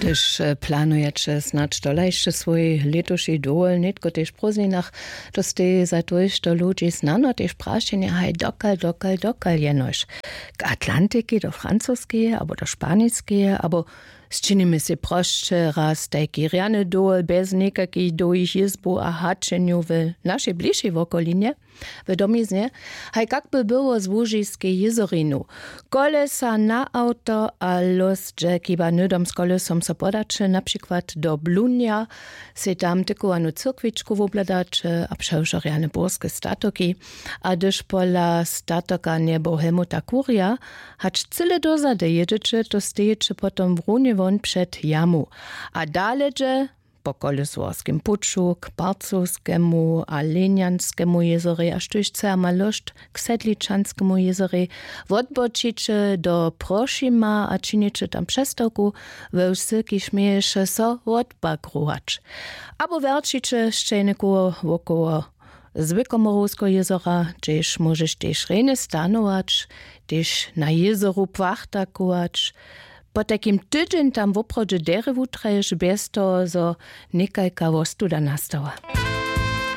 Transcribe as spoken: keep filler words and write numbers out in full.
Hdyž planujeće snadź tola hišće swój lětuši dowol nětko tež w prózdninach, to stej za tójšto ludźi snano tež prašenje haj dokal dokal dokal jenož k atlantiki do francuskeje abo do španiskeje abo sčinimy sej prosće raz tajki rjany dowol bjez někakich dołhich jězbow a haćenjow w našej bližšej wokolinje, w domiznje, haj kak by było z łužiskej jězorinu. Kolesa na awto a lós dźe chiba hnydom z kolesom so podaće na přikład do blunja, sej tam tykowanu cyrkwičku wobhladaće a přewšo rjane burske statoki. A hdyž pola statoka njebohemu tak kurja, hač cyle dozady jědźeće to stejeće potom runje won před jamu. A dale dźe po kolesowarskim puću k parcowskemu a lenjanskemu jězorej a štóž chce a ma lóšt k sedličanskemu jězorej, wotbočiće do prošima a činiće tam přestawku we wsy kiž měješe so wotbagrować. Abo wjerćiće sćejnikowo wokoło zwykłomorowskeho jězora, hdźež móžeš tež rjenje stanować, tež na jězoru płachtakować. Potajkim tydźeń tam woprawdźe derje wutraješ bjez toho zo někajka wostuda nastała.